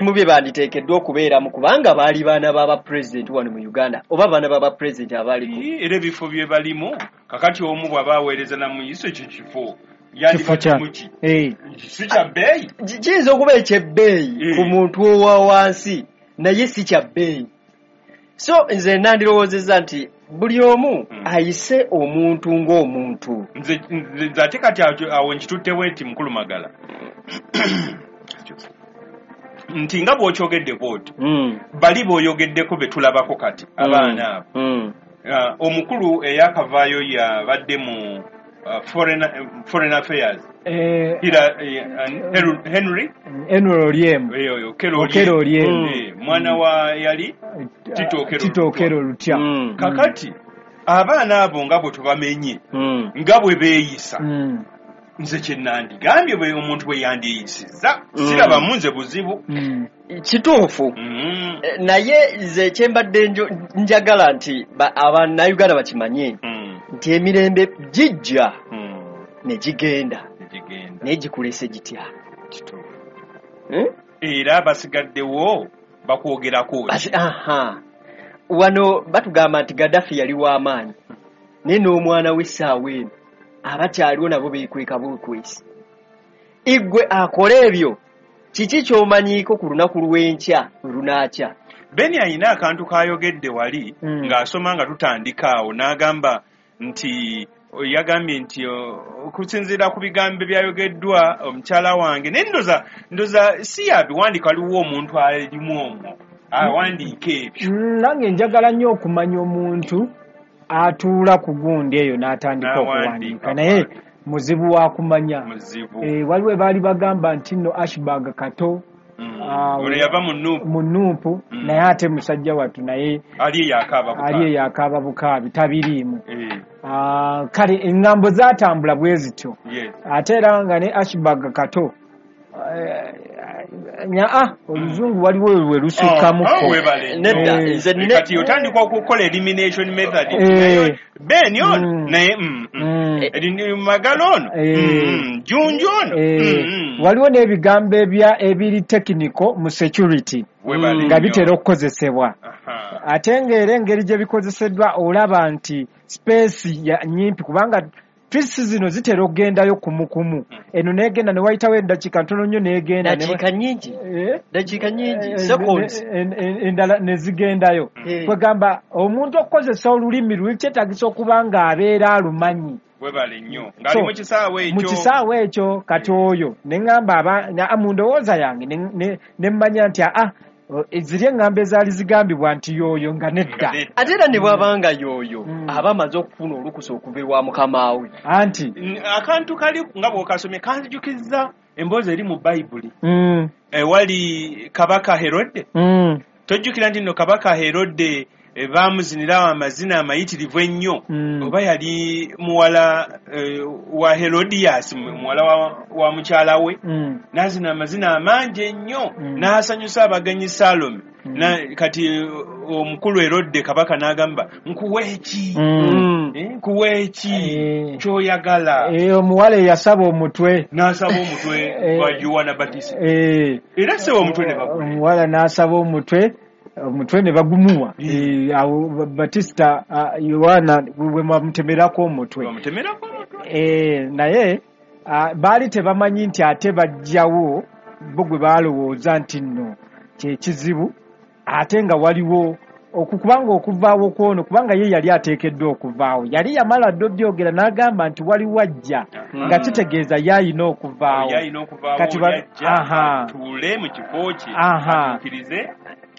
ebimu bye banditeekeddwa okubeeramu, kubanga baali baana b'abapulezidenti wano mu Uganda, oba baana b'abapulezidenti abaaliko. Era ebifo bye balimu kakati, omu bw'aba aweereza namuyiso, ekyo kifo Kifo kya yandibadde si kya bbeeyi. Kiyinza okuba ekyebbeeyi ku muntu owa wansi, naye si kya bbeeyi. So nze nandirowoozezza nti buli omu ayise omuntu ng'omuntu. Nze ate kati awo nkituttewo nti mukulu Magala, nti nga bw'okyogedde bw'otyo, bali b'oyogeddeko be tulabako kati abaana abo, omukulu eyakavaayo yabadde mu foreign affairs, Henry Henry Oryem. Oyo Okello. Okello Oryem. Mwana wa yali Tito Okello. Tito Okello Lutwa. Kakati abaana abo nga bwe tubamenye, nga bwe beeyisa, nze kye nandigambye, bwe omuntu bwe yandiyisizza, sirabamu nze buzibu. Kituufu. Naye nze kyembadde njagala nti abannayuganda bakimanye nti emirembe gijja ne gigenda, Negigenda. naye gikulese gitya? Kituufu. Eh? Era basigaddewo bakwogerako ki? Aha, wano batugamba nti Gaddafi yali w'amaanyi, naye n'omwana w'essaawa eno abakyaliwo nabo beekweka bwekwesi. Igwe akola ebyo, kiki ky'omanyiiko ku lunaku lw'enkya lwe lunaakya? Beni ayina akantu kayogedde wali ng'asoma nga tutandika awo, n'agamba nti yagambye nti okusinziira ku bigambo ebyayogeddwa omukyala wange, naye ndoza si yabiwandiika, waliwo omuntu alimu omwo awandiika ebyo. Nange njagala nnyo okumanya omuntu atuula ku gundi eyo n'atandika N'awandiika. okuwandiika, naye muzibu wa kumanya. Muzibu. Waliwo baali bagamba nti nno Ashburg Kato, Ono yava mu NUP. Mu NUP, naye ate musajja wattu naye ali eyo akaaba bukaabi. Ali eyo akaaba bukaabi, tabiriimu. Kale eŋŋambo zaatambula bwe zityo. Ate era nga ne Ashburg Kato, nyaa oluzungu waliwo lwe lusukkamuko. Oh, webale nnyo. Nedda, nze Kati otandika okukola elimination method. Eh. Naye Ben ono, naye Magala ono, Junju ono. Waliwo n'ebigambo ebiri technical mu security Webale nga nnyo. bitera okukozesebwa, ate ng'era engeri gye bikozeseddwa olaba nti space ya nyimpi, kubanga tweets zino zitera okugendayo kumukumu, eno negenda ne wayitawo eddakiika ntono nnyo negenda Dakiika nyingi. Eh? Dakiika nyingi, seconds. Endala ne zigendayo. Kwegamba omuntu okukozesa olulimi luli kyetagisa okuba ng'abeera alumanyi. Webale nnyo, ng'ali So, mu kisaawe ekyo. Mu kisaawe ekyo. Kati oyo ne ŋŋamba mu ndowooza yange ne mmanya nti aa ziri eŋŋambo ezaali zigambibwa nti y'oyo nga nedda. Nga nedda. Ate era ne bw'abanga y'oyo, aba amaze okufuna olukusa okuva ewa mukama we. Anti Akantu kali nga bw'okasomye kanzijukizza emboozi eri mu Bayibuli ewali Kabaka Herode. Tojjukira nti nno Kabaka Herode, baamuzinirawo amazina amayitirivu ennyo? Oba yali muwala wa Herodias, muwala wa mukyala we, n'azina amazina amangi ennyo, n'asanyusa abagenyi Salome. Kati omukulu Herode kabaka n'agamba, "Nkuwa eki? Nkuwa eki ky'oyagala?" Omuwala eyasaba omutwe. N'asaba omutwe gwa Yowana Batista. Era seba omutwe ne bagula. Omuwala n'asaba omutwe, omutwe ne bagumuwa. Awo Batista, Yowana bwe bamutemerako omutwe. Bamutemerako omutwe. Naye baali tebamanyi nti ate bajjawo bo gwe baalowooza nti nno kyekizibu, ate nga waliwo kubanga okuvaawo kwono, kubanga ye yali ateekeddwa okuvaawo, yali yamala dda obyogera n'agamba nti waliwo ajja, nga kitegeeza ye ayina okuvaawo. Ye alina okuvaawo. Kati yajja atuule mu kifo kye, atuukirize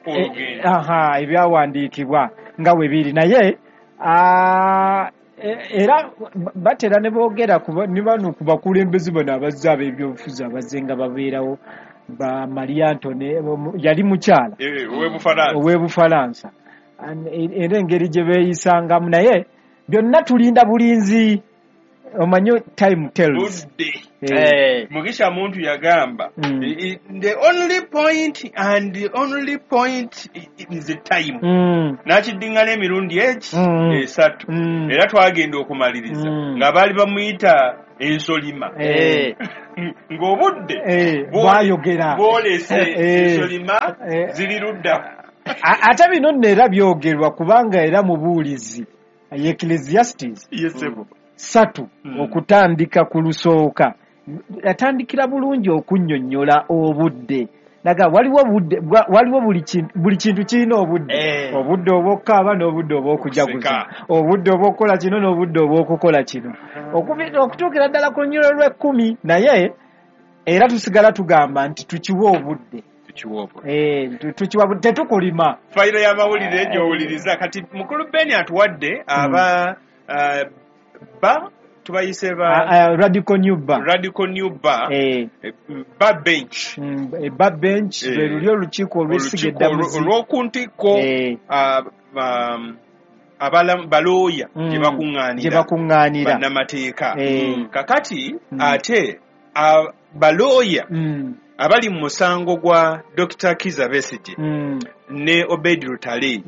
olugendo. Aha, ebyawandiikibwa nga bwe biri. Naye era batera ne boogera ne bano ku bakulembeze bano abazze ab'ebyobufuzi abazze nga babeerawo, ba Maria Antone, yali mukyala Ow'Ebufalansa. Ow'Ebufalansa. Era engeri gye beeyisangamu, naye byonna tulinda bulinzi, omanyi time tells. Budde. Mugisha Muntu yagamba, "The only point and the only point is the time." N'akiddiŋŋana emirundi egi 3. Era twagenda okumaliriza nga baali bamuyita Ensolima. Eh. Ng'obudde bwayogera. Bwolese ensolima ziri ludda. Ate bino nno era byogerwa kubanga era mubuulizi Ecclesiastes 3 okutandika ku lusooka atandikira bulungi okunnyonnyola obudde. Naga waliwo budde, waliwo buli kintu kirina obudde. Obudde obw'okukaaba n'obudde obw'okujaguza, obudde obw'okukola kino n'obudde obw'okukola kino, okutuukira ddala ku lunyiriri lw'ekkumi. Naye era tusigala tugamba nti tukiwa obudde. Tukiwa tetukulima. Fayiro y'amawulire gy'owuliriza kati mukulu Ben atuwadde aba ba tubayise ba Radical New Bar. Radical New Bar. Bar bench. Bar bench lwe luli olukiiko olw'essiga eddamuzi olw'oku ntikko balooya gye bakuŋŋaanira bannamateeka. Kakati ate balooya abali mu musango gwa Dr. Kizza Besigye ne Obed Lutale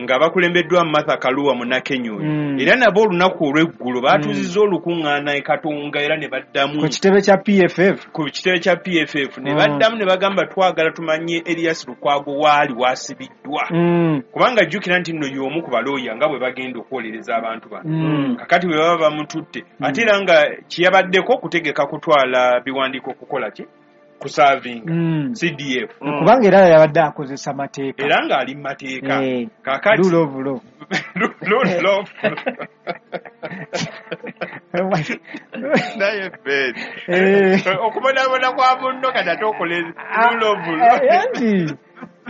nga bakulembeddwa Martha Karua Munnakenya oyo, era nabo olunaku olw'eggulo baatuuzizza olukuŋŋaana e Katonga era ne baddamu ku kitebe kya PFF. Ku kitebe kya PFF ne baddamu ne bagamba twagala tumanye Erias Lukwago waali wasibiddwa, kubanga jjukira nti nno y'omu ku balooya nga bwe bagenda okwolereza abantu bano. Kakati bwe baba bamututte ate era nga kiyabaddeko kutegeka kutwala biwandiiko okukola ki kusavinga CDF, kubanga era yabadde akozesa mateeka era ng'ali mu mateeka. Kakati rule of law. Rule of naye Ben okubonaabona kwa munno kati ate okola rule of law. Anti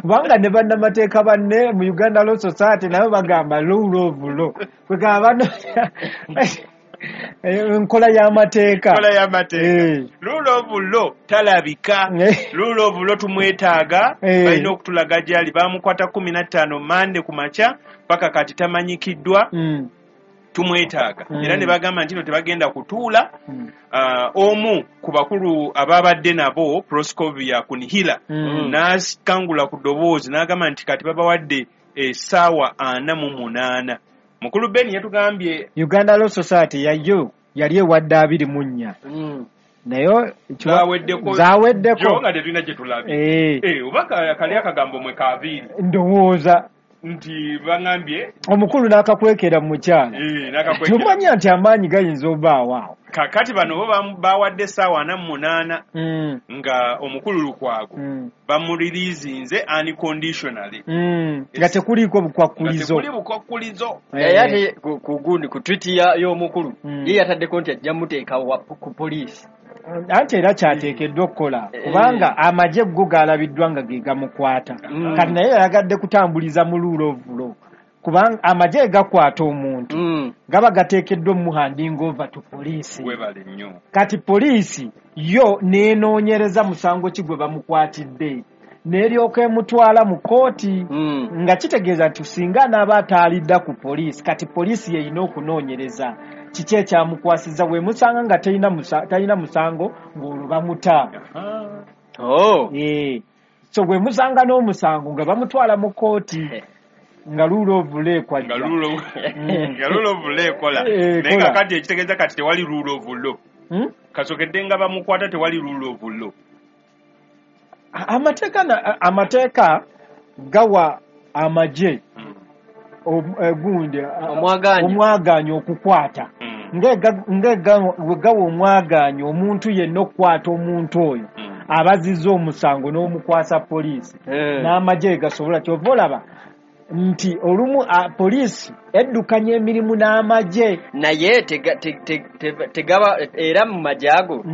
kubanga ne bannamateeka banne mu Uganda Law Society nabo bagamba rule of law, kwegamba bano enkola y'amateeka. Enkola y'amateeka. Rule of law talabika. Rule of law tumwetaaga, balina okutulaga gy'ali. Baamukwata 15 Mande ku makya paka kati tamanyikiddwa. Tumwetaaga. Era ne bagamba nti no tebagenda kutuula. Omu ku bakulu ababadde nabo Proscovia Kunihila n'akangula ku ddoboozi n'agamba nti kati babawadde essaawa 48. Mukulu Ben yatugambye Uganda Law Society yayo yali ewadde 24. Naye zaaweddeko nga tetulina gye tulabye. Oba kali akagambo mwe kaabiri ndowooza nti baŋambye omukulu n'akakwekera mu mukyala. Tumanya nti amaanyi gayinza obaawo awo. Kakati bano bo bawadde essaawa 48 nga omukulu Lukwago bamuririizinze unconditionally, nga tekuliiko bukwakkulizo. Tekuli bukwakkulizo. Naye ate ku gundi ku tweet y'omukulu ye yataddeko nti ajja muteeka ku poliisi. Anti era kyateekeddwa okukola kubanga amagye go galabiddwa nga ge gamukwata. Kati naye yayagadde kutambuliza mu rule of law, kubanga amagye gakwata omuntu gaba gateekeddwa omuhanding over to police. Webale nnyo. Kati poliisi yo n'enoonyereza musango ki gwe bamukwatidde n'eryoka emutwala mu kooti, nga kitegeeza nti singa anaaba ataalidda ku poliisi, kati poliisi yeyina okunoonyereza kiki ekyamukwasiza. Bwe musanga nga talina musango ng'olwo bamuta. So bwe musanga n'omusango nga bamutwala mu kooti nga rule of law ekwajja. Nga rule of law ekola. Naye kakati ekitegeeza kati tewali rule of law. Kasokedde nga bamukwata tewali rule of law. Amateeka gawa amagye gundi omwagaanya okukwata. Nga gawa omwagaanya omuntu yenna okukwata omuntu oyo abazizza omusango n'omukwasa poliisi, n'amagye gasobola. Kyova olaba nti olumu poliisi eddukanya emirimu n'amagye. Naye tegaba era mu magye ago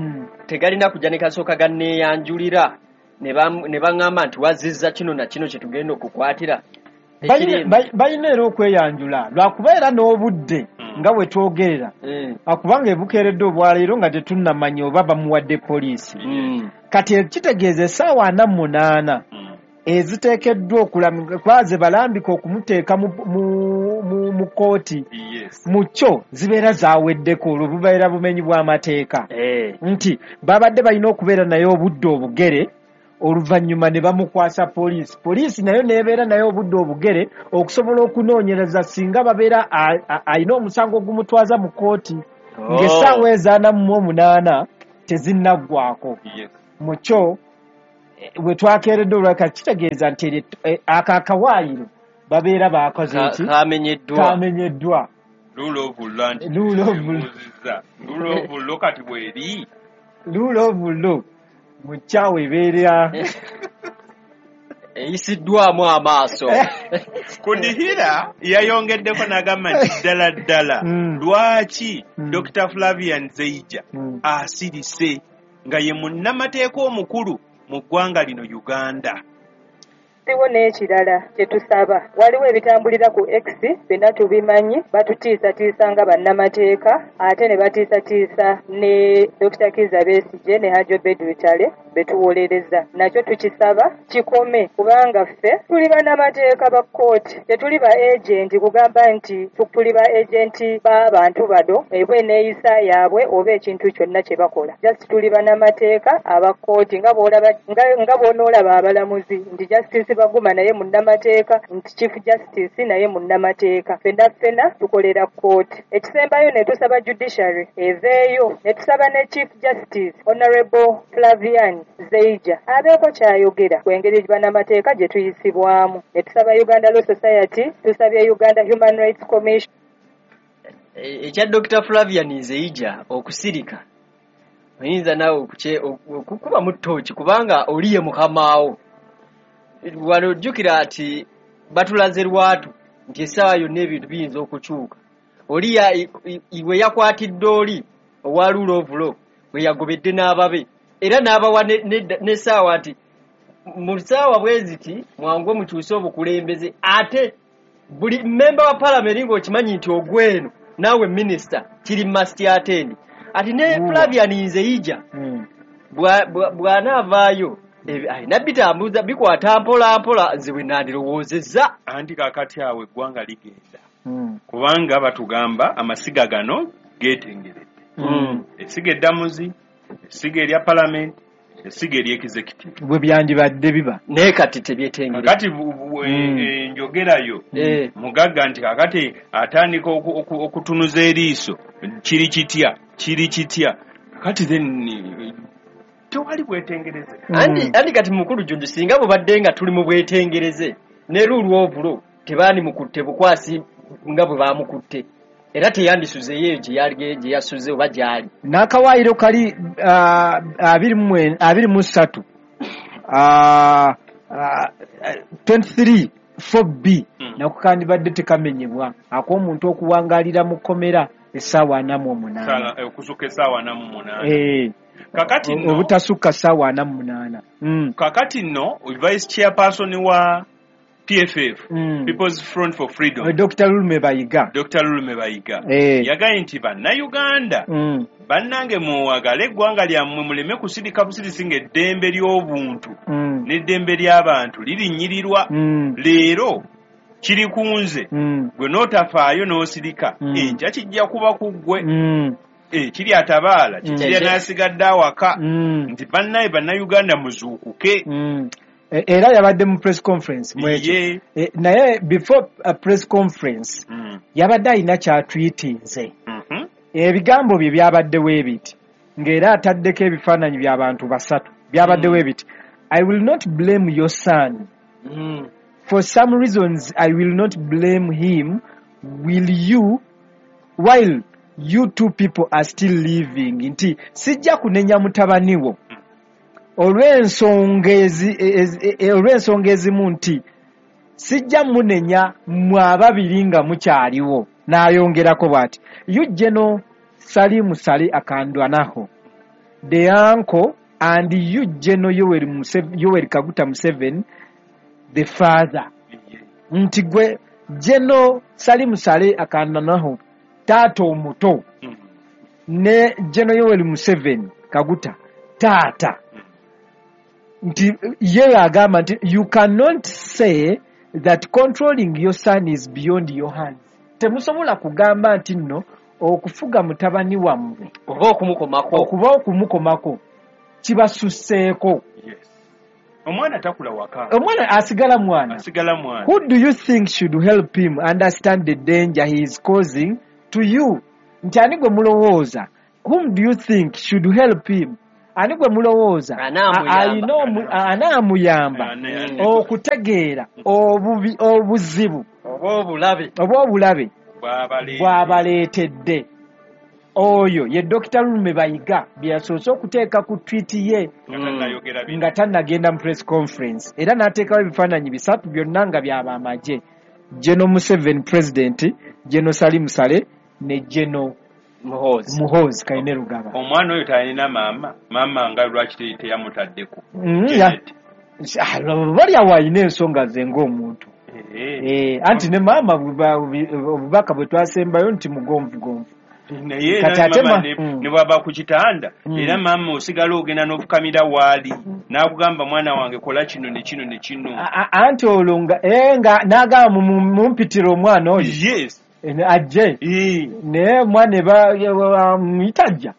tegalina kujja ne kasooka ganneeyanjulira ne baŋŋamba nti wazizza kino na kino kye tugenda okukwatira. Balina era okweyanjula lwakuba era n'obudde nga bwe twogerera, kubanga ebukeeredde obwaleero nga tetunnamanya oba bamuwadde poliisi. Kati ekitegeeza essaawa 48 eziteekeddwa okulamika ze balambika okumuteeka mu kooti, mu kyo zibeera zaaweddeko, olwo bubeera bumenyi bw'amateeka. Nti babadde balina okubeera naye obudde obugere, oluvannyuma ne bamukwasa poliisi. Poliisi nayo n'ebeera naye obudde obugere okusobola okunoonyereza singa babeera alina omusango ogumutwaza mu kooti. Ng'essaawa eza 48 tezinnaggwako. Mu kyo we twakeeredde olwaka, kitegeeza nti ako akawaayiro babeera bakoze ki? Kamenyeddwa. Kamenyeddwa. Rule of law nti Rule of law. mbuuzizza. Rule of law kati bweri. Rule of law mu kyawo ebeera Eyisiddwamu amaaso. Kudihira yayongeddeko n'agamba nti ddala ddala lwaki Dr Flavian Zeija asirise nga ye munnamateeka omukulu mu ggwanga lino Uganda? Waliwo n'ekirala kye tusaba. Waliwo ebitambulira ku X, byonna tubimanyi. Batutiisatiisa nga bannamateeka, ate ne batiisatiisa ne Dr Kiiza Besigye ne Hajji Obeid Lutale betuwolereza. Nakyo tukisaba kikome, kubanga ffe tuli bannamateeka ba kkooti, tetuli ba agenti kugamba nti tuli ba agenti b'abantu bano eba eneeyisa yaabwe oba ekintu kyonna kye bakola. Just tuli bannamateeka aba kkooti, nga bw'onoolaba abalamuzi nti Justice Baguma naye munnamateeka, nti Chief Justice naye munnamateeka. Ffenna ffena tukolera kkooti. Ekisembayo, ne tusaba judiciary eveeyo, ne tusaba ne Chief Justice Honorable Flavian Zeija abeeko kyayogera ku engeri bannamateeka gye tuyisibwamu. Ne tusaba Uganda Law Society, tusabye Uganda Human Rights Commission. Ekya Dr Flavian Nzeija okusirika, oyinza naawe okukubamu ttooki, kubanga oli ye mukamaawo. Wano ojjukira nti batulaze lwatu nti essaawa yonna ebintu biyinza okukyuka. Oli we yakwatidde oli owa rule of law, we yagobedde n'ababe era n'abawa n'essaawa nti mu ssaawa bwe ziti mwangu mukyuse obukulembeze. Ate buli mmemba wa palamenti ng'okimanyi nti ogweno naawe minisita kiri must attend. Ati ne Flavian Nzeija bw'anaavaayo alina bitambuza bikwata mpola mpola, nze bwe nandirowoozezza. Anti kaakati awo eggwanga ligenda, kubanga batugamba amasiga gano geetengeredde: essiga eddamuzi, essiga erya palamenti, essiga ery'executive. Bwe byandibadde biba. Naye kati tebyetengeredde. Kakati enjogerayo mugagga nti kakati atandika okutunuza eriiso, kiri kitya, kiri kitya kakati? Then tewali bwetengereze. Andi kati mukulu Junju, singa bubadde nga tuli mu bwetengereze ne rule of law, tebaanimukutte bukwasi nga bwe baamukutte, era teyandisuzeeyo eyo gye yali, gye yasuze oba gy'ali. N'akawaayiro kali 23, 23 4B nako kandibadde tekamenyebwa, ak'omuntu okuwangaalira mu kkomera essaawa 48. Okusukka essaawa 48. Kakati nno Obutasukka ssaawa 48. Kakati nno vice chairperson wa PFF, People's Front for Freedom, Dr Lulume Bayiga. Dr Lulume Bayiga, yagambye nti bannayuganda bannange, muwagale eggwanga lyammwe, muleme kusirika busirisi ng'eddembe ly'obuntu n'eddembe ly'abantu lirinnyirirwa. Leero kiri ku nze, gwe n'otafaayo n'osirika, enkya kijja kuba ku ggwe. Kiri atabaala kikirya n'asigadde awaka. Nti bannaye bannayuganda muzuukuke. Era yabadde mu press conference mwekyo. Naye before a press conference yabadde alina kyatwitinze. Ebigambo bye byabaddewo ebiti, ng'era ataddeko ebifaananyi by'abantu basatu. Byabaddewo ebiti: "I will not blame your son. For some reasons I will not blame him. Will you while you two people are still living." Nti sijja kunenya mutabani wo olw'ensonga ezimu, nti sijja munenya mmwe ababiri nga mukyaliwo. N'ayongerako bw'ati: "You, General Salimu Sale Akandwanaho, the uncle, and you, General Yoweri Kaguta Museveni, the father." Nti gwe General Salimu Sale Akandwanaho, taata omuto, ne General Yoweri Museveni Kaguta, taata, nti ye agamba nti you cannot say that controlling your son is beyond your hands. Temusobola kugamba nti nno okufuga mutabani wammwe oba okumukomako okuba okumukomako kibasusseeko. Yes. Omwana takula waka. Omwana asigala mwana. Asigala mwana. "Who do you think should help him understand the danger he is causing to you Nti ani gwe mulowooza, whom do you think should help him, ani gwe mulowooza anaamuyamba okutegeera obuzibu oba obulabe bw'abaleetedde. Oyo ye Dr. Lulume Bayiga bye yasoose okuteeka ku tweet ye nga tannagenda mu press conference, era n'ateekawo ebifaananyi 3 byonna nga by'abamagye: General Museveni president, General Salim Saleh ne General Muhoozi Kainerugaba. Omwana oyo talina maama, maama nga lwaki teyamutaddeko? Bali awo alina ensonga ze ng'omuntu. Anti ne maama obubaka bwe twasembayo nti mugonvugonvu. Naye ne bw'aba ku kitanda era maama osigala ogenda n'ofukamira waali n'akugamba mwana wange kola kino ne kino ne kino. Anti olwo nga n'agamba mumpitira omwana oyo. Yes. Ajje. Naye omwana muyita ajja.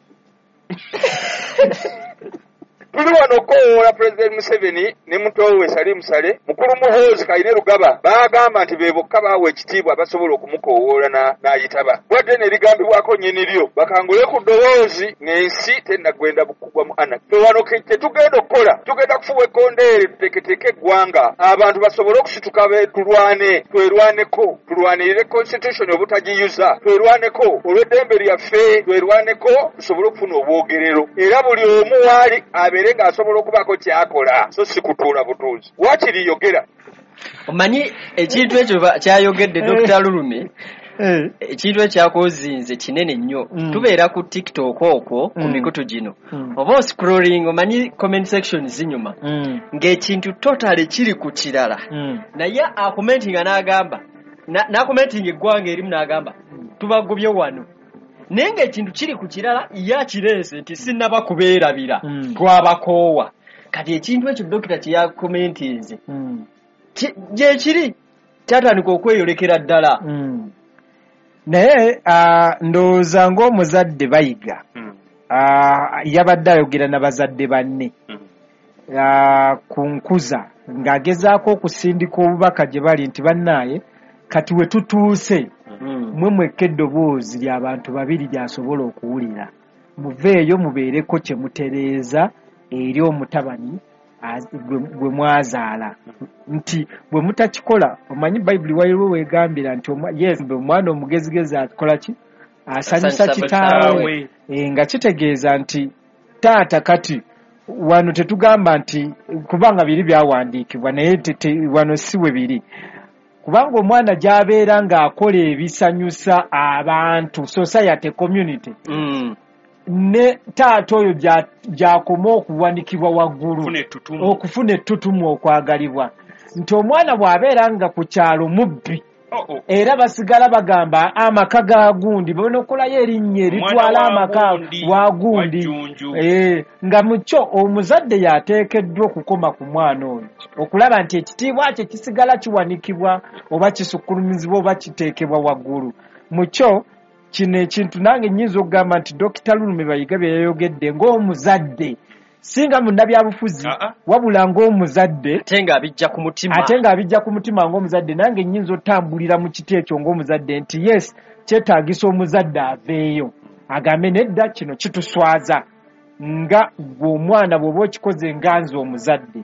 Tuli wano okukowoola Pulezidenti Museveni ne muto we Salim Saleh, mukulu Muhoozi Kainerugaba baagamba nti be bokka baawa ekitiibwa abasobola okumukowoola n'ayitaba. Wadde n'ebigambibwako nnyini lyo bakangule ku ddoboozi ng'ensi tennagenda kugwa mu anarchy. Ffe wano kye tugenda okukola, tugenda kufuwa ekkondeere tuteeketeeke eggwanga abantu basobole okusituka tulwane, twerwaneko, tulwanirire constitution obutagiyuza, twerwaneko olw'eddembe lyaffe, twerwaneko tusobole okufuna obwogerero, era buli omu waali abeere ng'asobola okubaako ky'akola, so si kutuula butuuzi. Waakiri yogera. Omanyi ekintu ekyo kyayogedde Dr. Lulume, ekintu ekyakozinze kinene nnyo. Tubeera ku TikTok okwo ku mikutu gino, oba oscrolling, omanyi comment section zinyuma ng'ekintu totally kiri ku kirala, naye acommentinga n'agamba n'acommentinga eggwanga erimu n'agamba tubagobye wano, naye ng'ekintu kiri ku kirala, ye akireese nti sinnaba kubeerabira, twabakoowa. Kati ekintu ekyo dokita kye yakomentinze gye kiri kyatandika okweyolekera ddala. Naye ndowooza ng'omuzadde Bayiga yabadde ayogera na bazadde banne ku nkuza, ng'agezaako okusindika obubaka gye bali nti bannaaye kati we tutuuse, mwe mwekka eddoboozi ly'abantu babiri ly'asobola okuwulira, muveeyo mubeereko kye mutereeza eri omutabani gwe mwazaala, nti bwe mutakikola, omanyi Bayibuli waliwo weegambira nti yes, omwana omugezigezi akola ki? Asanyusa kitaawe. Nga kitegeeza nti taata kati wano tetugamba nti kubanga biri byawandiikibwa, naye wano si we biri, kubanga omwana gy'abeera ng'akola ebisanyusa abantu, society, community, ne taata oyo gy'akoma okuwanikibwa waggulu, okufuna ettutumu, okwagalibwa, nti omwana bw'abeera nga ku kyalo mubbi, era basigala bagamba amaka ga gundi, banokolayo erinnya eritwala amaka wa gundi, nga mukyo omuzadde yateekeddwa okukoma ku mwana oyo okulaba nti ekitiibwa kye kisigala kiwanikibwa oba kisukkulumizibwa oba kiteekebwa waggulu. Mukyo kino ekintu nange nnyinza okugamba nti Dr. Lulume Bayiga bye yayogedde ng'omuzadde, singa munnabyabufuzi, wabula ng'omuzadde, ate ng'abijja ku mutima, ate ng'abijja ku mutima ng'omuzadde, nange nnyinza otambulira mu kiti ekyo ng'omuzadde nti yes, kyetaagisa omuzadde aveeyo agambe nedda, kino kituswaza, nga gwe omwana bw'oba okikoze nga nze omuzadde,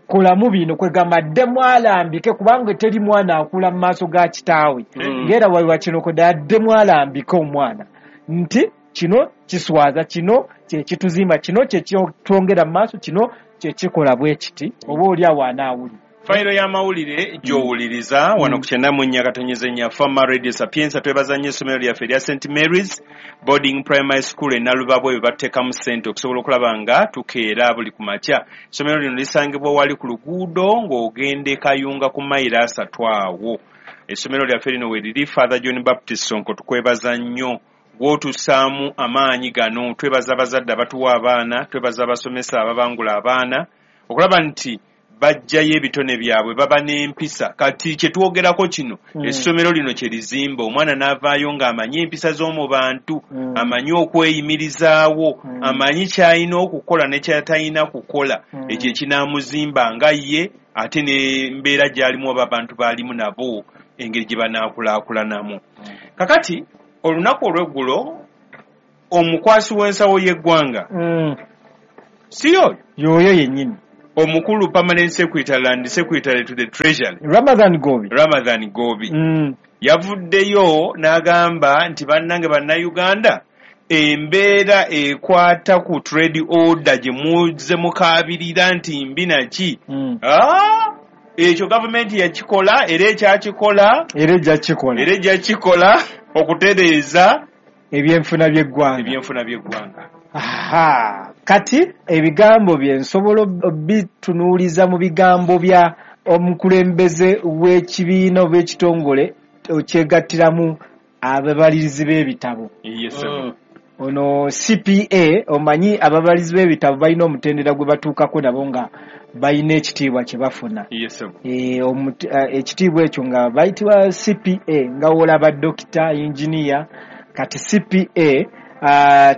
kolamu bino, kwegamba addemu alambike, kubanga teri mwana akula mu maaso ga kitaawe, ng'era waliwa kino kodda, addemu alambike omwana nti kino kiswaza, kino kye kituzimba, kino kye kyetwongera mu maaso, kino kye kikola bwe kiti, oba oli awo anaawulira. Fayiro y'amawulire gy'owuliriza wano ku 94.4 Fama Radio Sapienza. Twebaza nnyo essomero lyaffe erya St Mary's Boarding Primary School e Nalubabwe, bwe bateekamu ssente okusobola okulaba nga tukeera buli ku makya. Essomero lino lisangibwa wali ku luguudo ng'ogenda e Kayunga ku mayiro 3 awo. Essomero lyaffe lino we liri. Father John Baptist Sonko, tukwebaza nnyo gw'otussaamu amaanyi gano. Twebaza abazadde abatuwa abaana, twebaza abasomesa ababangula abaana okulaba nti bajjayo ebitone byabwe, baba n'empisa. Kati kye twogerako kino, essomero lino kye lizimba omwana n'avaayo ng'amanyi empisa z'omu bantu, amanyi okweyimirizaawo, amanyi ky'alina okukola ne ky'atalina kukola, ekyo ekinaamuzimba nga ye, ate n'embeera gy'alimu oba abantu b'alimu nabo engeri gye banaakulaakulanamu. Kakati olunaku olw'eggulo Omukwasi w'ensawo y'eggwanga si yoyo? Yoyo yennyini. Omukulu permanent secretary and secretary to the treasury, Ramathan Ggoobi. Ramathan Ggoobi yavuddeyo n'agamba nti bannange Bannayuganda, embeera ekwata ku trade order gye muzze mukaabirira nti mbi naki, ekyo gavumenti yakikola era ekyakikola, era ejja kikola, era ejja kikola okutereeza ebyenfuna by'eggwanga. Ebyenfuna by'eggwanga. Aha, kati ebigambo bye nsobola bitunuuliza mu bigambo bya omukulembeze w'ekibiina oba ekitongole okyegattiramu ababalirizi b'ebitabo. Yes. Ono CPA, omanyi ababalirizi b'ebitabo balina omutendera gwe batuukako nabo nga balina ekitiibwa kye bafuna. Yes. Ekitiibwa ekyo nga bayitibwa CPA, nga wolaba dokita, engineer. Kati CPA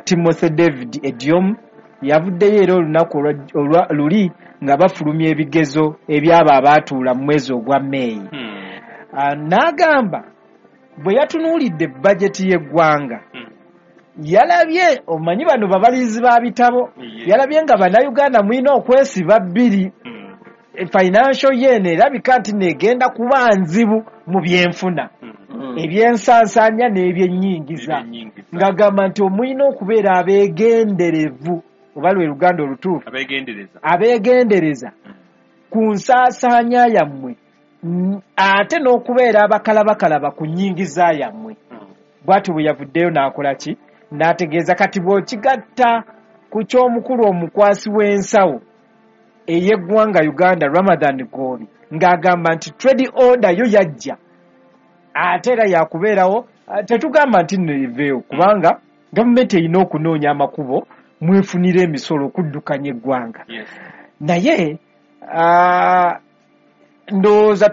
Timothy David Ediom yavuddeyo era olunaku olwa luli nga bafulumya ebigezo ebyabo abaatuula mu mwezi ogwa Meeyi. N'agamba bwe yatunuulidde bajeti y'eggwanga, yalabye, omanyi bano babalirizi ba bitabo, yalabye nga Bannayuganda mulina okwesiba bbiri. Financial year erabika nti negenda kuba nzibu mu byenfuna, ebyensansaanya n'ebyennyingiza, ng'agamba nti omulina okubeera abeegenderevu, oba lwe Luganda olutuufu, abeegendereza ku nsaasaanya yammwe, ate n'okubeera abakalabakalaba ku nnyingiza yammwe. Bw'atyo bwe yavuddeyo n'akola ki, n'ategeeza. Kati bw'okigatta ku ky'omukulu omukwasi w'ensawo ey'eggwanga Uganda, Ramathan Ggoobi, ng'agamba nti trade order yo yajja ate era yakubeerawo, tetugamba nti nno eveewo, kubanga gavumenti erina okunoonya amakubo mwefunira emisolo okuddukanya eggwanga. Naye ndowooza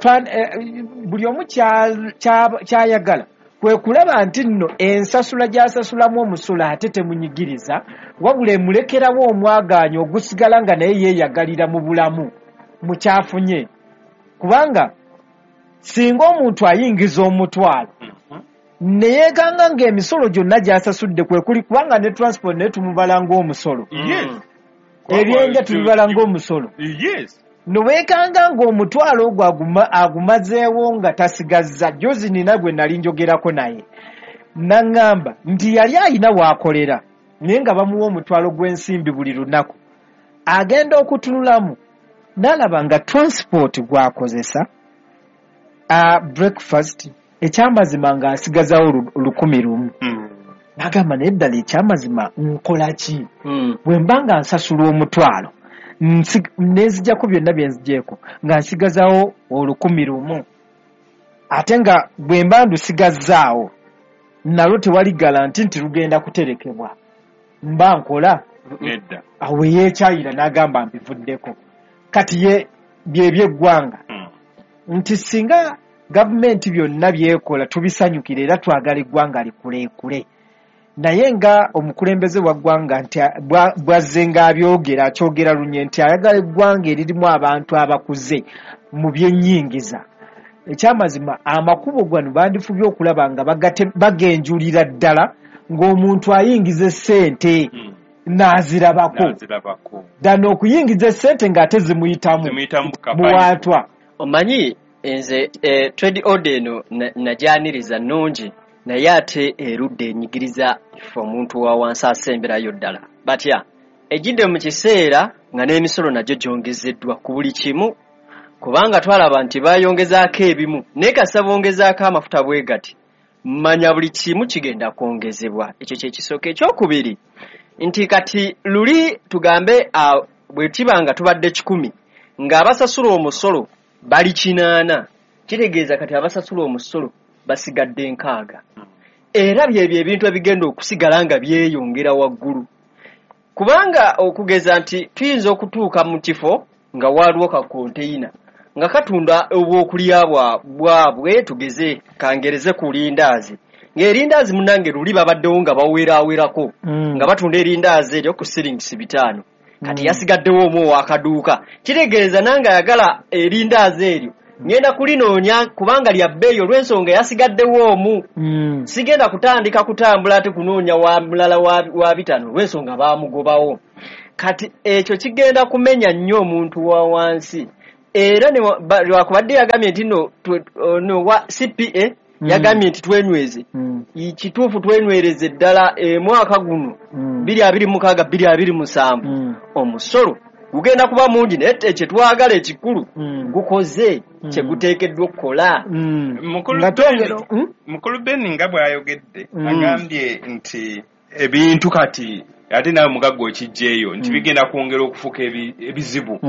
buli omu kyayagala kwe kulaba nti nno ensasula gy'asasulamu omusolo ate temunyigiriza, wabula emulekerawo omwagaanya ogusigala nga naye yeeyagalira mu bulamu mukyafunye. Kubanga singa omuntu ayingiza omutwalo ne yeeganga ng'emisolo gyonna gy'asasudde kwe kuli, kubanga ne transport naye tumubala ng'omusolo, ebyenja tubibala ng'omusolo, noweekanga ng'omutwalo ogwo agumazeewo nga tasigazza. Jozi nina gwe nali njogerako naye naŋŋamba nti yali ayina waakolera naye nga bamuwa omutwalo gw'ensimbi buli lunaku, agenda okutunulamu n'alaba nga transport gw'akozesa, breakfast, ekyamazima ng'asigazawo 1,000. N'agamba naye ddala ekyamazima nkola ki? Bwe mba nga nsasula omutwalo nenzijjako byonna bye nzigyeko nga nsigazawo 1,000, ate nga bwe mba ndusigazzaawo nalwo tewali galanti nti lugenda kuterekebwa, mba nkola nedda. Awo yeekyayira n'agamba mbivuddeko. Kati ye byebyeggwanga nti singa gavumenti byonna byekola tubisanyukira era twagala eggwanga likuleekule, naye nga omukulembeze wa ggwanga nti bwazze ng'abyogera akyogera lunye nti ayagala eggwanga eririmu abantu abakuze mu byennyingiza. Ekyamazima amakubo gano bandifubye okulaba nga bagenjulira ddala ng'omuntu ayingiza essente n'azirabako, ddala okuyingiza essente ng'ate zimuyitamu buwaatwa. Omanyi nze trade order eno najyaniriza nnungi, naye ate erudde enyigiriza ffe omuntu wa wansi asemberayo ddala. Batya ejjidde mu kiseera nga n'emisolo nagyo gyongezeddwa ku buli kimu, kubanga twalaba nti bayongezaako ebimu, naye kasa bongezaako amafuta bwe gati, manya buli kimu kigenda kwongezebwa. Ekyo kye kisooka. Ekyokubiri nti kati luli tugambe bwe kiba nga tubadde 100 ng'abasasula omusolo bali 8, kitegeeza kati abasasula omusolo basigadde 6. Era byebyo ebintu ebigenda okusigala nga byeyongera waggulu, kubanga okugeza nti tuyinza okutuuka mu kifo nga waliwo ka konteyina nga katunda obwokulya bwabwe, tugeze kangereze ku lindaazi, ng'erindaazi munnange luli babaddewo nga baweraawerako nga batunda erindaazi eryo ku siringisi 5, kati yasigaddewo omu ow'akaduuka, kitegeeza nange ayagala erindaazi eryo Ngenda kulinoonya kubanga lya bbeeyi olw'ensonga yasigaddewo omu. Sigenda kutandika kutambula ate kunoonya wa mulala wa 5 olw'ensonga baamugobawo. Kati ekyo kigenda kumenya nnyo omuntu wa wansi. Era lwakubadde yagambye nti no wa CPA yagambye nti twenyweze. Kituufu twenywereze ddala mwaka guno 2026 2027 omusolo gugenda kuba mungi, naye kyetwagala ekikulu gukoze kyeguteekeddwa okukola. Mukulu Ben nga bw'ayogedde agambye nti ebintu kati ate nawe mugagga okijjeeyo nti bigenda kwongera okufuuka ebizibu.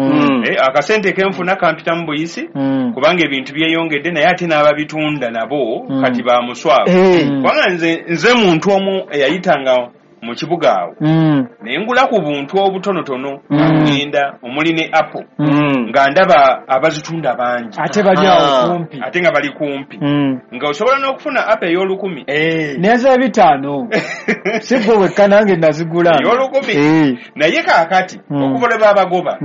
Akasente kenfuna kampita mu buyisi kubanga ebintu byeyongedde, naye ate n'ababitunda nabo kati bamuswavu. Kubanga nze muntu omu eyayitanga mu kibuga awo naye ngula ku buntu obutonotono ngenda omuli ne apple nga ndaba abazitunda bangi ate bali awo kumpi, ate nga bali kumpi nga osobola n'okufuna apple ey'olukumi n'eza 5 si gwe wekka, nange nazigula ey'olukumi. Naye kaakati okuva lwe babagoba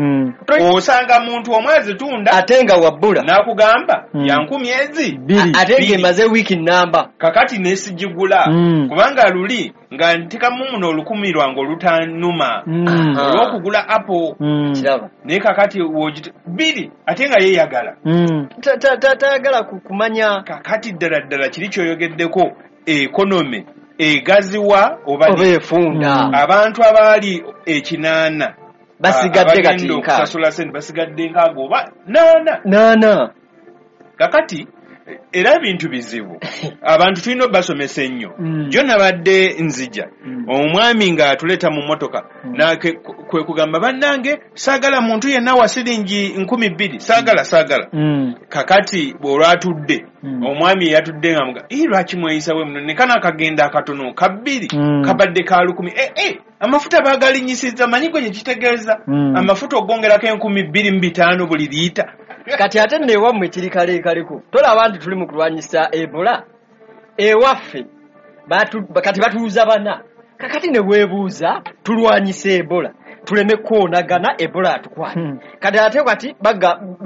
osanga muntu omu azitunda ate nga wabbula n'akugamba ya 10 ezi 2 ate ng'emaze wiiki namba. Kakati nesigigula kubanga luli nga ntekamu muno 1,000 lwange olutanuma olw'okugula apple. Kiraba. Naye kakati 2 ate nga yeeyagala tayagala kumanya. Kakati ddala ddala kiri kyoyogeddeko, economy egaziwa oba efunda. Abantu abaali 8 basigadde kati okusasula sente basigadde 6 oba 8. Kakati era ebintu bizibu, abantu tulina obbasomesa ennyo. Jo nabadde nzija omwami ng'atuleeta mu mmotoka kwe kugamba bannange saagala muntu yenna wa siringi 2,000 saagala. Kakati bw'olwatudde omwami yatudde nga muga lwaki mweyisa bwe muno, ne kano akagenda akatono ka 2 kabadde ka 1,000. Amafuta baagalinyisizza, manyi gwe kitegeeza amafuta ogongerako 2,500 buli liita. Kati ate nno ewammwe kiri kaleekaleko, tolaba nti tuli mu kulwanyisa Ebola ewaffe kati batuuza 4. Kakati ne weebuuza tulwanyisa Ebola tuleme kwoonagana, Ebola atukwate. Kati ate kati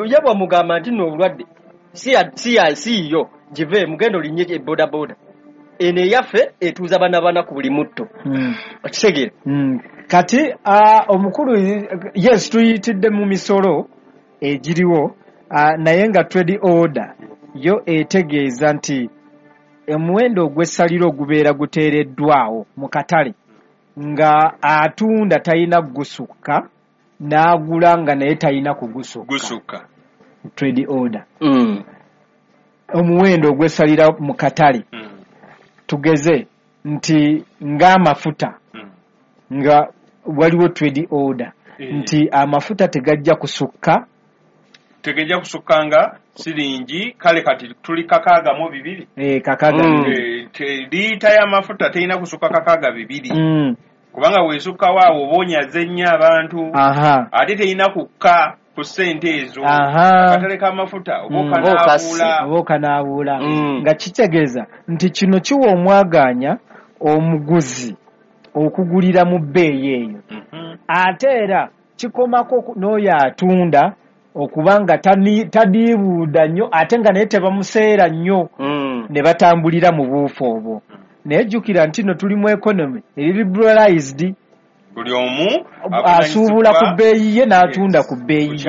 ye bwamugamba nti nno obulwadde si yo give mugendo linye bodaboda eno eyaffe etuuza 4 ku buli mutto. Okitegeera? Kati omukulu yes tuyitidde mu misolo egiriwo, naye nga trade order yo etegeeza nti omuwendo ogw'essaliro ogubeera guteereddwawo mu katale nga atunda talina kugusukka n'agula nga naye talina kugusukka. Trade order omuwendo ogw'essalira mu katale tugeze nti ng'amafuta nga waliwo trade order nti amafuta tegajja kusukka tegejja kusukkanga siringi kale kati tuli 62. 62. Liita y'amafuta terina kusukka 62. Kubanga weesukkawo awo oba onyaze nnyo abantu. Ate terina kukka ku ssente ezo. Akatale k'amafuta oba okanaabuula. Nga kitegeeza nti kino kiwa omwagaanya omuguzi okugulira mu bbeeyi eyo. Ate era kikomako n'oyo atunda okubanga tadiibuuda nnyo ate nga naye tebamuseera nnyo ne batambulira mu buufu obwo. Naye jjukira nti nno tuli mu economy eri liberalized, buli omu asuubula ku bbeeyi ye n'atunda ku bbeeyi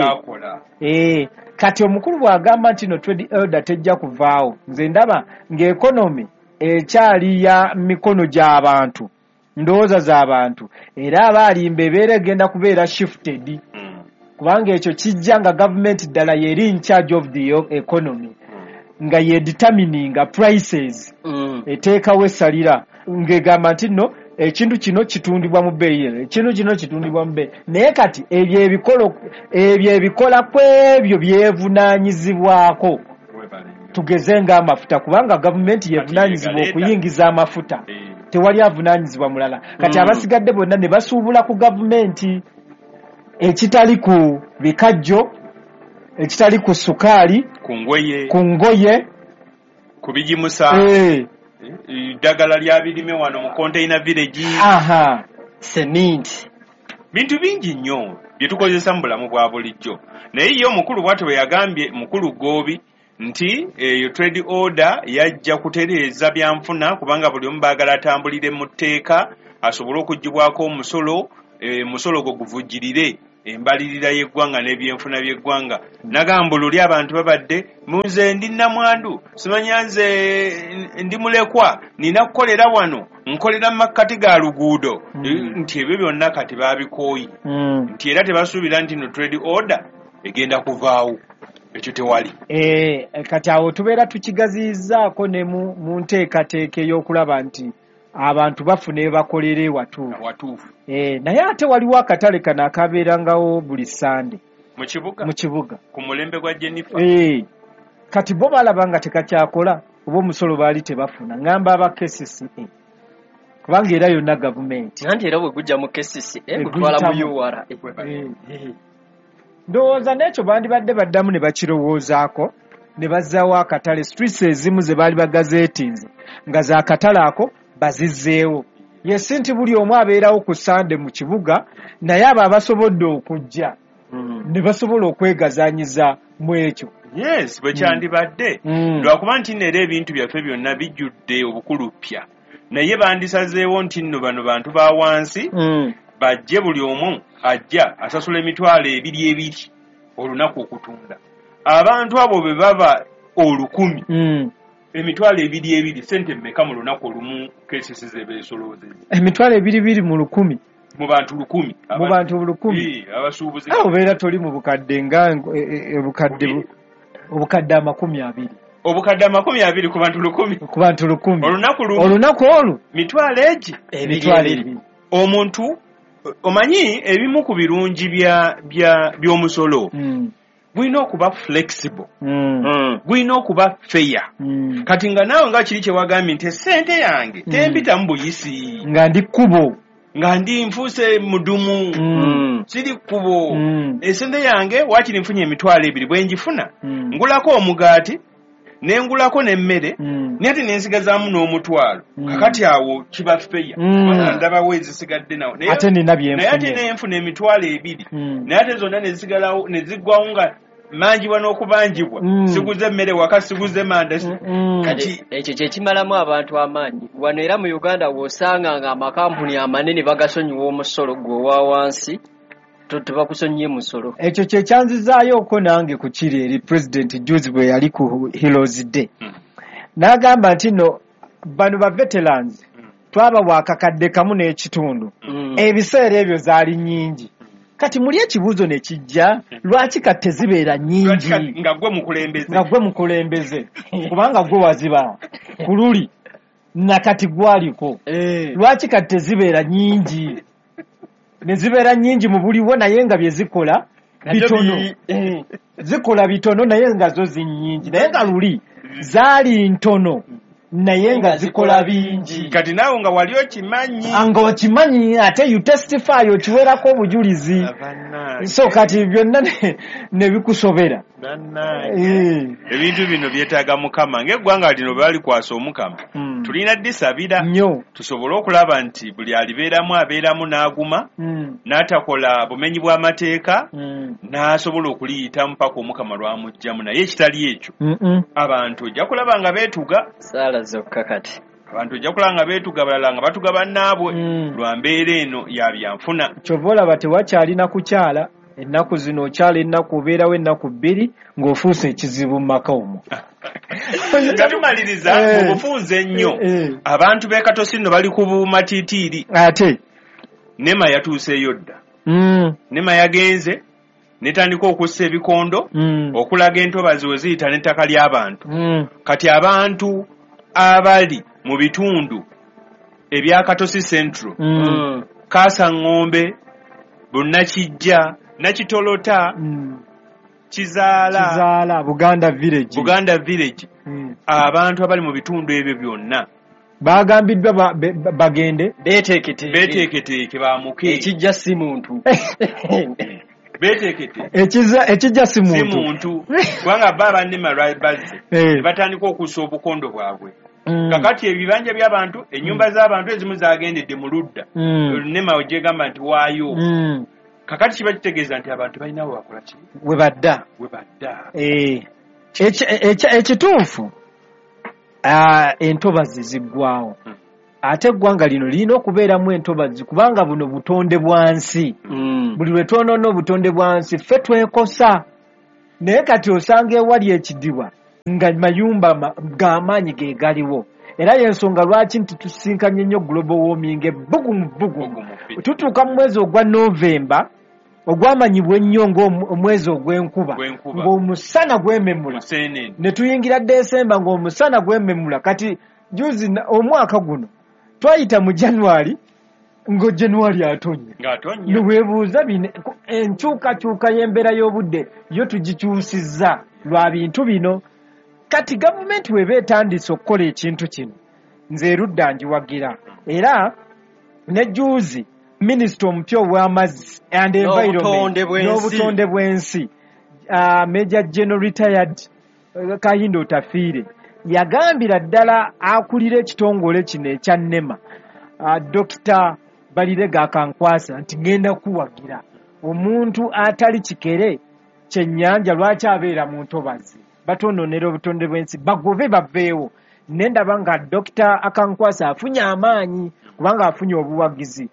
ye. Kati omukulu bw'agamba nti no trade order tejja kuvaawo, nze ndaba ng'economy ekyali ya mikono gy'abantu, ndowooza z'abantu, era abaalimba ebeera egenda kubeera shifted. Kubanga ekyo kijja nga gavumenti ddala yeri in charge of the economy nga ye determining prices, eteekawo essalira ng'egamba nti nno ekintu kino kitundibwa mu bbeeyi eno, ekintu kino kitundibwa mu bbeeyi. Naye kati ebyo ebikola ku ebyo byevunaanyizibwako. Tugeze ng'amafuta, kubanga gavumenti yevunaanyizibwa okuyingiza amafuta, tewali avunaanyizibwa mulala. Kati abasigadde bonna ne basuubula ku gavumenti ekitali ku bikajjo, ekitali ku sukaali, ku ngoye, ku bigimusa, eddagala lya birime wano mu container village, cement, bintu bingi nnyo Bye tukozesa mu bulamu bwa bulijjo. Naye ye omukulu bw'atyo bwe yagambye, mukulu Goobi, nti eyo trade order yajja kutereeza byanfuna, kubanga buli omu baagala atambulire mu tteeka asobole okuggyibwako omusolo, omusolo gwo guvujjirire embalirira y'eggwanga n'ebyenfuna by'eggwanga. Nagamba luli abantu babadde munze ndi namwandu, simanya nze ndi mulekwa, nina kukolera wano, nkolera mu makkati ga luguudo. Nti ebyo byonna kati baabikooye. Nti era tebasuubira nti no trade order egenda kuvaawo, ekyo tewali. Kati awo tubeera tukigaziyizaako ne mu nteekateeka ey'okulaba nti abantu bafuna ebakolera ewatuufu. Watuufu. Naye ate waliwo akatale kano akabeerangawo buli Sande mu kibuga, mu kibuga ku mulembe gwa Jennifer. Kati bo balaba nga tekakyakola, oba omusolo baali tebafuna. Ngamba aba KCCA, kubanga era yonna gavumenti. Anti era bwe gujja mu KCCA gutwala mu URA. Ndowooza n'ekyo bandibadde baddamu ne bakirowoozaako ne bazzaawo akatale. Streets ezimu ze baali bagazeetinze nga za katale ako bazizzeewo. Yesi nti buli omu abeerawo ku Sande mu kibuga, naye abo abasobodde okujja ne basobola okwegazaanyiza mu ekyo. Yes, bwe kyandibadde. Lwakuba nti nno era ebintu byaffe byonna bijjudde obukulupya, naye bandisazeewo nti nno bano bantu ba wansi bajje, buli omu ajja asasula 2,200 olunaku okutunda. Abantu abo bwe baba 1,000, 2,200 sente mmeka mu lunaku olumu KCC ze beesoloozezza? 2,200 mu 1,000. Mu bantu 1,000. Mu bantu 1,000. Abasuubuzi. Awo obeera toli mu bukadde nga obukadde 20. Obukadde 20 ku bantu 1,000. Ku bantu 1,000. Olunaku lumu. Olunaku olwo. Mitwalo egi. 2,000. Omuntu omanyi ebimu ku birungi by'omusolo gulina okuba flexible, gulina okuba fair. Kati nga naawe nga kiri kye wagambye nti essente yange tempitamu buyisi, nga ndi kkubo, nga ndi nfuuse mudumu, siri kkubo. Essente yange waakiri nfunye 2,000, bwe ngifuna ngulako omugaati ne ngulako n'emmere, naye ate ne nsigazaamu n'omutwalo. Kakati awo kiba fair, kubanga ndabawo ezisigadde nawo, ate nina bye naye ate nenfuna 2,000, naye ate zonna ne zisigalawo ne ziggwawo nga manjibwa n'okubanjibwa, siguze emmere waka, siguze manda. Kati ekyo kye kimalamu abantu amaanyi wano. Era mu Uganda w'osanga nga amakampuni amanene bagasonyiwa omusolo gwe owa wansi, tebakusonyiye musolo. Ekyo kye kyanzizaayoko nange ku kiri eri President juzi bwe yali ku Heroes Day, n'agamba nti nno bano ba veterans twabawa akakadde 1.5, ebiseera ebyo zaali nnyingi. Kati muli ekibuuzo ne kijja, lwaki kati tezibeera nnyingi? Nga gwe mukulembeze, nga gwe mukulembeze, kubanga gwe waziba ku luli nakati gwaliko. Lwaki kati tezibeera nnyingi? Ne zibeera nnyingi mu buliwo, naye nga bye zikola bitono. Zikola bitono naye nga zo zinnyingi, naye nga luli zaali ntono naye nga zikola bingi. Kati naawe nga wali okimanyi, nga okimanyi, ate you testify, okiwerako obujulizi. So kati byonna ne bikusobera. Ebintu bino byetaaga Mukama. Ng'eggwanga lino balikwasa Omukama, tulina disabira nnyo tusobole okulaba nti buli alibeeramu abeeramu n'aguma, n'atakola bumenyi bw'amateeka, n'asobola okuliyitamu paka Omukama lw'amuggyamu. Naye ekitali ekyo, abantu ojja kulaba nga beetuga saala zokka. Kati abantu ojja kulaba nga beetuga, balala nga batuga bannaabwe lwa mbeera eno ya byanfuna. Kyova olaba tewakyalina kukyala ennaku zino, okyala ennaku obeerawo ennaku 2 ng'ofuuse ekizibu mu maka omwo. Nga tumaliriza mu bufunze ennyo, abantu b'e Katosi nno bali ku bumatiitiiri. Ate NEMA yatuuseeyo dda. NEMA yagenze netandika okussa ebikondo okulaga entobazi we ziyita n'ettaka ly'abantu. Kati abantu abali mu bitundu ebya Katosi Central, Kaasa Ng'ombe, Bunnakijja, Nakitolota, Kizaala, Buganda Village, Buganda Village, abantu abali mu bitundu ebyo byonna bagambiddwa bagende beeteeketeeke, bamuke. Ekijja si muntu. Beeteeketeeke, ekijja si muntu, kubanga bo abannema bazze batandika okussa obukondo bwabwe. Kakati ebibanja by'abantu, ennyumba z'abantu ezimu zagendedde mu ludda, NEMA gyegamba nti waayo. Kakati kiba kitegeeza nti abantu balina we bakola ki? We badda. We badda. Ekituufu entobazi ziggwawo. Ate eggwanga lino lirina okubeeramu entobazi kubanga buno butonde bwa nsi. Buli lwe twonoona obutonde bwa nsi ffe twekosa. Naye kati osanga ewali ekidiba nga mayumba g'amaanyi ge galiwo. Era y'ensonga lwaki nti tusinkanye nnyo global warming ebbugumu bbugumu. Tutuuka mu mwezi ogwa Novemba ogwamanyibwa ennyo ng'omwezi ogw'enkuba, ng'omusana gwememula. Ne tuyingira Desemba ng'omusana gwememula. Kati juzi omwaka guno twayita mu January ngo January atonnya. Neweebuuza bino enkyukakyuka y'embeera y'obudde yo tugikyusizza lwa bintu bino. Kati gavumenti weba etandise okukola ekintu kino nze erudda ngiwagira. Era ne juzi minisita omupya ow'amazzi and environment n'obutonde bw'ensi Major General retired Kahinda Otafiire yagambira ddala akulira ekitongole kino ekya NEMA Dr. Barirega Akankwasa nti ngenda kuwagira omuntu atali kikere kyennyanja lwaki abeera mu ntobazi batonoonera obutonde bw'ensi bagobe baveewo. Ne ndaba nga Dr. Akankwasa afunye amaanyi kubanga afunye obuwagizi.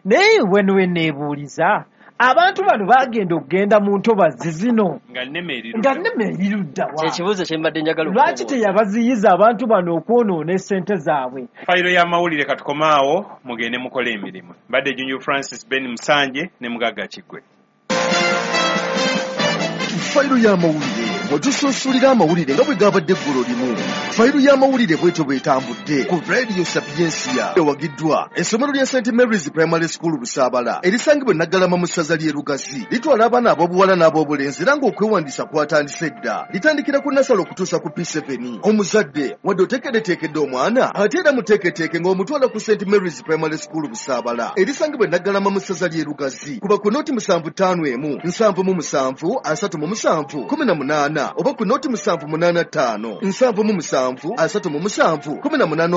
Naye weno neebuuliza abantu bano bagenda okugenda mu ntobazi zino nga NEMA erirudda wa? Kyekibuuzo kye mbadde njagala lwaki teyabaziyiza abantu bano okwonoona essente zaabwe? Fayiro y'amawulire katukomaawo mugende mukole emirimu. Mbadde Junju Francis Ben Musanje ne Mugagga Kiggwe. Fayiro y'amawulire mwetusunsulira amawulire nga bwe gabadde eggulo limu. Fayiro y'amawulire bwetyo bwetambudde ku Radio Sapientia ewagiddwa essomero lya St Mary's Primary School Busaabala erisangibwa e Naggalama mu ssaza ly'e Lugazi. Litwala abaana ab'obuwala n'ab'obulenzi era ng'okwewandiisa kwatandise dda. Litandikira ku nasale okutuusa ku P7. Omuzadde wadde oteekeddeteekedde omwana ate era muteeketeeke ng'omutwala ku St Mary's Primary School Busaabala erisangibwa e Naggalama mu ssaza ly'e Lugazi. Kuba ku noti 751 77 37 18 oba ku noti 785 77 37 18.